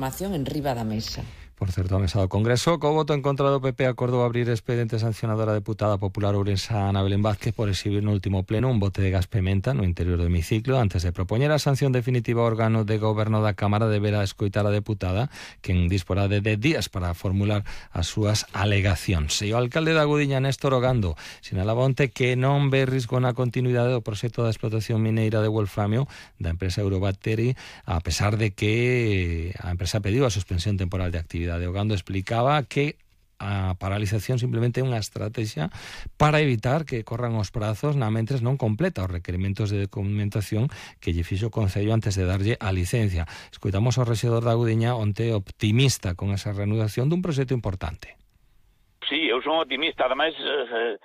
Información en riba da mesa. Por certo, a mesa do Congreso, co voto en contra do PP acordou abrir expediente sancionador a deputada popular ourensá Ana Belén Vázquez por exhibir no último pleno un bote de gas pementa no interior do hemiciclo. Antes de propoñer a sanción definitiva ao órgano de goberno da Cámara, deberá escoitar a deputada, quen disporá de 10 días para formular as súas alegacións. E o alcalde da Gudiña, Néstor Ogando, sinalaba onte que non ve risco na continuidade do proxecto da explotación mineira de wolframio da empresa Eurobattery, a pesar de que a empresa pediu a suspensión temporal de actividade. Ogando explicaba que a paralización simplemente é unha estrategia para evitar que corran os prazos na mentres non completa os requerimentos de documentación que lle fixo o Concello antes de darlle a licencia. Escoitamos ao rexedor da Gudiña onte optimista con esa reanudación dun proxecto importante. Sí, eu son optimista, ademais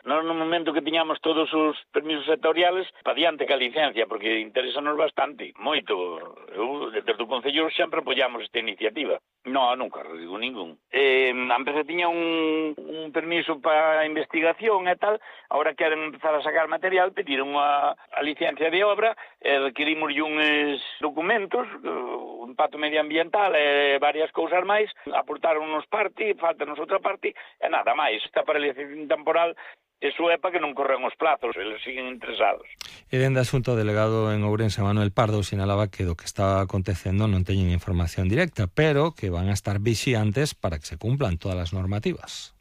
no momento que tiñamos todos os permisos sectoriales pa diante que a licencia, porque interesanos bastante, moito. Eu, desde o Concello, sempre apoiamos esta iniciativa. No, nunca digo ningún. A empresa tiña un permiso para investigación e tal, ahora queren empezar a sacar material, pediron a licencia de obra, requirimos uns documentos, o impacto medioambiental e varias cousas máis, aportaron unos parte, faltanos outra parte, e nada máis. Esta paralización temporal iso é para que non corren os plazos, eles siguen interesados. E dende asunto, o delegado en Ourense, Manuel Pardo, sinalaba que do que está acontecendo non teñen información directa, pero que van a estar vixiantes para que se cumplan todas as normativas.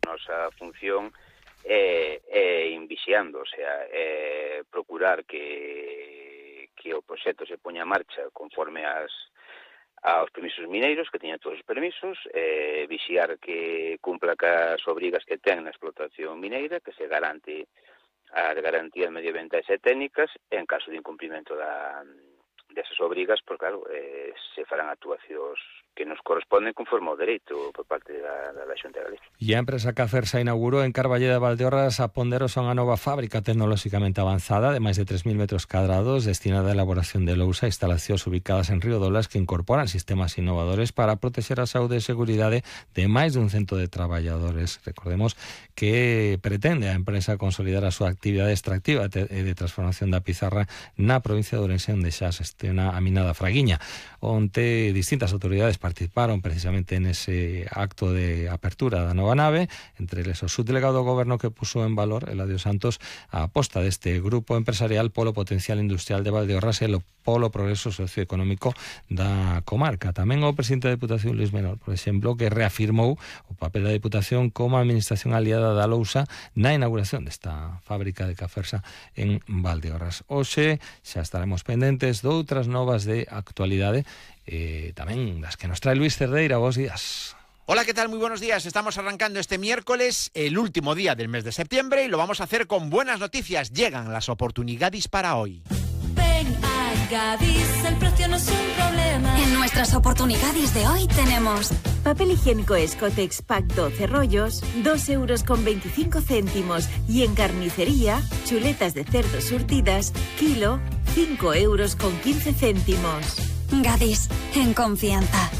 Nosa función é vixiando, o sea, procurar que o proxecto se poña en marcha conforme aos permisos mineiros, que teñan todos os permisos, vixiar que cumpla cas obrigas que ten na explotación mineira, que se garante as garantías medioambientais e técnicas, e en caso de incumprimento desas obrigas, porque claro, se farán actuacións que nos corresponden conforme ao dereito por parte da Xunta de Galicia. E a empresa Cafersa inaugurou en Carballeda de Valdeorras a Ponderosa unha nova fábrica tecnolóxicamente avanzada de máis de 3.000 metros cadrados destinada á elaboración de lousa, instalacións ubicadas en Río Dolas que incorporan sistemas innovadores para protexer a saúde e seguridade de máis dun cento de traballadores. Recordemos que pretende a empresa consolidar a súa actividade extractiva e de transformación da pizarra na provincia de Ourense, onde xa se estena a mina da Fraguiña. Onte distintas autoridades participaron precisamente en ese acto de apertura da nova nave, entre eles o subdelegado do goberno que puso en valor, Eladio Santos, a aposta deste grupo empresarial polo potencial industrial de Valdeorras e polo progreso socioeconómico da comarca. Tamén o presidente da Deputación, Luis Menor, por exemplo, que reafirmou o papel da Deputación como administración aliada da lousa na inauguración desta fábrica de Cafersa en Valdeorras. Hoxe xa estaremos pendentes de outras novas de actualidade, tamén das que nos trae Luis Cerdeira. Bos días. Hola, ¿qué tal? Muy buenos días. Estamos arrancando este miércoles, el último día del mes de septiembre, y lo vamos a hacer con buenas noticias. Llegan las oportunidades para hoy. Ven a Gadis, el precio no es un problema. En nuestras oportunidades de hoy tenemos papel higiénico Escotex Pack 12 rollos, 2,25 €. Y en carnicería, chuletas de cerdo surtidas, kilo, 5,15 €. Gadis, en confianza.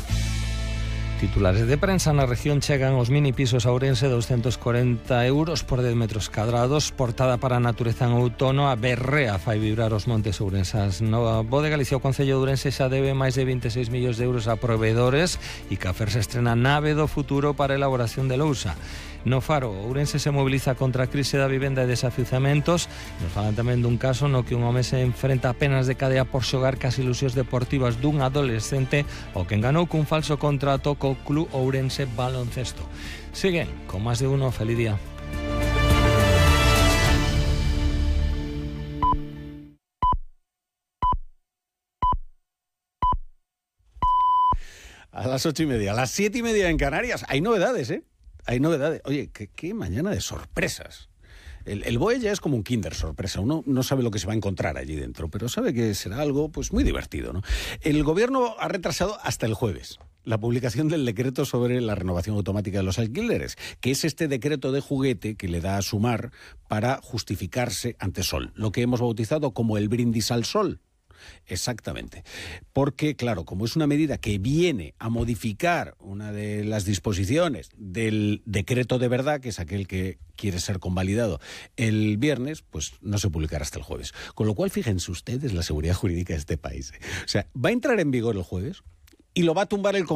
Titulares de prensa: na región chegan os mini pisos a Ourense, 240 € por 10 metros cadrados. Portada para a natureza en outono, a berrea fai vibrar os montes ourensás. No Bo de Galicia, o Concello de Ourense xa debe máis de 26 millóns de euros a proveedores e Cafersa estrena nave do futuro para a elaboración de lousa. No Faro, Ourense se moviliza contra a crise da vivenda e desafiuzamentos. Nos falan tamén dun caso no que un home se enfrenta a penas de cadea por xogar cas ilusións deportivas dun adolescente o que enganou cun falso contrato co Club Ourense Baloncesto. Siguen con máis de uno. Feliz día. A las 8:30, a las 7:30 en Canarias. Hay novedades, ¿eh? Hay novedades. Oye, qué mañana de sorpresas. El BOE ya es como un Kinder sorpresa. Uno no sabe lo que se va a encontrar allí dentro, pero sabe que será algo pues muy divertido, ¿no? El gobierno ha retrasado hasta el jueves la publicación del decreto sobre la renovación automática de los alquileres, que es este decreto de juguete que le da a Sumar para justificarse ante Sol, lo que hemos bautizado como el brindis al sol. Exactamente, porque claro, como es una medida que viene a modificar una de las disposiciones del decreto de verdad, que es aquel que quiere ser convalidado el viernes, pues no se publicará hasta el jueves. Con lo cual, fíjense ustedes la seguridad jurídica de este país. O sea, va a entrar en vigor el jueves y lo va a tumbar el Congreso